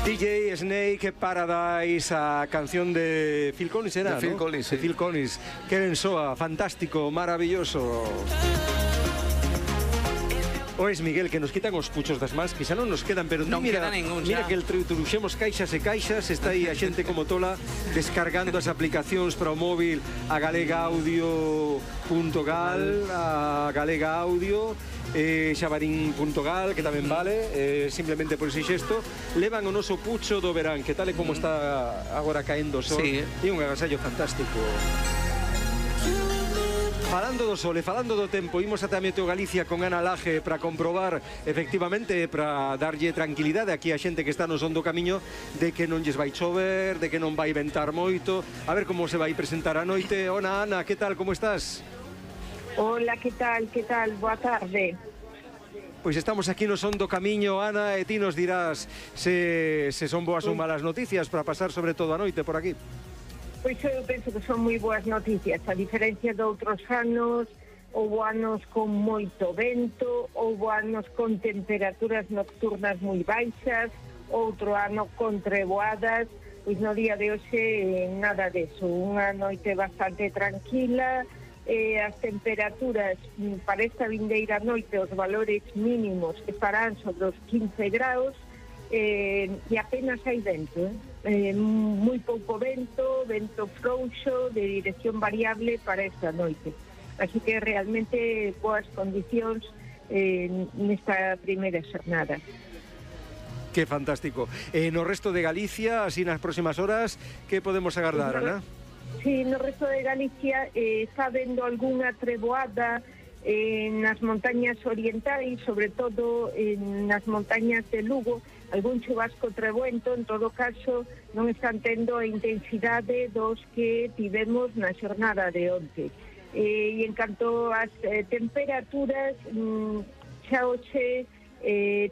DJ Snake Paradise, a canción de Phil Collins, era, de Phil ¿no? Collins, de sí. Phil Collins. Que ben soa, fantástico, maravilloso. O es Miguel, que nos quitan os puchos das mans, que xa non nos quedan, pero Non mira, queda ningún, mira xa. que truxemos caixas e caixas, está aí a xente como tola descargando as aplicacións para o móvil, a galegaudio.gal, a Galega Audio, xabarín.gal, que tamén vale, simplemente por ese xesto, levan o noso pucho do verán, que tal e como está agora caendo o sol, Sí. e un agasallo fantástico. Falando do sol e falando do tempo, imos ata Meteo Galicia con Ana Laje para comprobar, efectivamente, para darlle tranquilidade aquí a xente que está no son do camiño, de que non lles vai chover, de que non vai ventar moito. A ver como se vai presentar a noite. Hola, Ana, que tal, como estás? Hola, que tal, boa tarde. Pois estamos aquí no son do camiño, Ana, e ti nos dirás se son boas ou malas noticias para pasar sobre todo a noite por aquí. Pois eu penso que son moi boas noticias, a diferencia de outros anos, houve anos con moito vento, houve anos con temperaturas nocturnas moi baixas, outro ano con treboadas, pois no día de hoxe nada deso, unha noite bastante tranquila, as temperaturas para esta vindeira noite, os valores mínimos estarán sobre os 15 graus, e apenas hai vento, moi pouco vento frouxo de dirección variable para esta noite, así que realmente boas condicións nesta primeira xornada. Que fantástico. No resto de Galicia, así nas próximas horas, que podemos agardar, Ana? Sí, no resto de Galicia está vendo algunha treboada nas montañas orientais, sobre todo nas montañas de Lugo, algún chubasco treboento, en todo caso non están tendo a intensidade dos que tivemos na xornada de onte. E en canto ás temperaturas, xa hoxe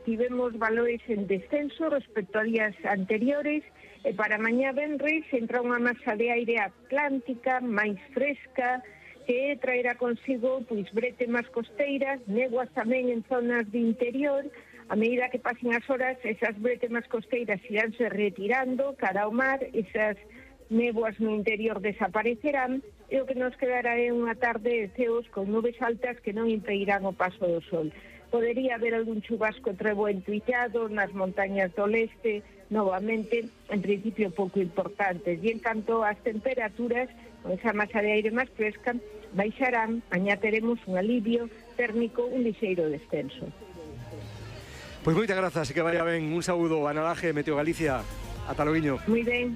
tivemos valores en descenso respecto a días anteriores, e para mañá venres entra unha masa de aire atlántica máis fresca, que traerá consigo pois bretemas costeiras, néboas tamén en zonas de interior. A medida que pasen as horas, esas bretemas costeiras iránse retirando cara ao mar, esas néboas no interior desaparecerán, e o que nos quedará é unha tarde de ceos con nubes altas que non impedirán o paso do sol. Podería haber algún chubasco treboento illado nas montañas do leste, novamente, en principio pouco importantes. E en canto ás temperaturas, con esa masa de aire máis fresca, baixarán, mañá teremos un alivio térmico, un lixeiro descenso. Pois moitas grazas e que vaya ben. Un saúdo, Ana Laje, Meteo Galicia. Ata loiño. Moi ben.